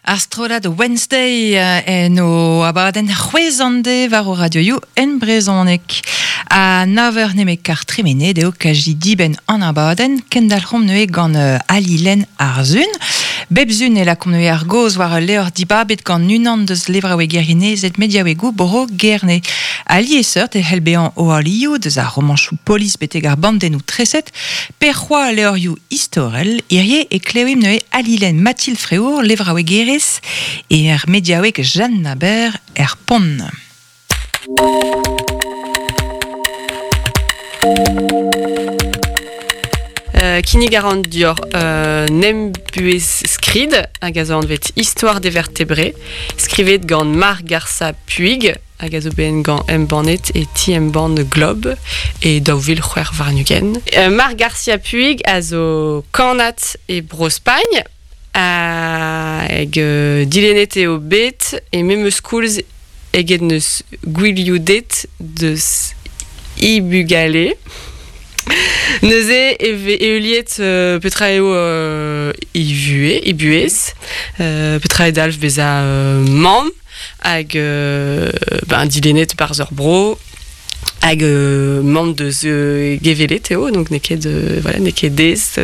Ar strollad Wednesday en o abadenn c'hwezh an de war o radioioù en brezhoneg. Ha nav eur nemet kar tremenet eo kaji dibenn an abadenn, kendalc'homp neuze gant Ali Lenn ar Sun. Bep sun e lakaomp neuze ar gaoz war ul levr dibabet gant unan deus levraouegerien-ezed mediaouegoù Bro Gerne. Alies-seurt e c'hell bezañ o alioù deus ar romanchoù polis betek ar bandennoù treset, pe c'hoazh levrioù istorel. Hirie e klevimp neuze Ali Lenn Mathilde Fréour, levraouegerez, e er mediaoueg Jeanne Naber er Pont. Kinnig a ran dior nem buhez skrid hag a zo anvet Histoire des vertébrés, skrivet gant Marc Garça Puig hag a zo bet gant embannet e ti-embann Globe e 2026. Marc Garcia Puig a zo kannad e Bro-Spagn hag dilennet eo bet e memes koulz eget n'eus gwilioudet deus he bugale. Neuze e vez heuliet petra eo he vuhez, he buhez, petra eo dalv bezañ mamm hag ben dilennet barzh ur bro hag mamm deus gevellet eo, donc n'eo ket voilà, n'eo ket aes.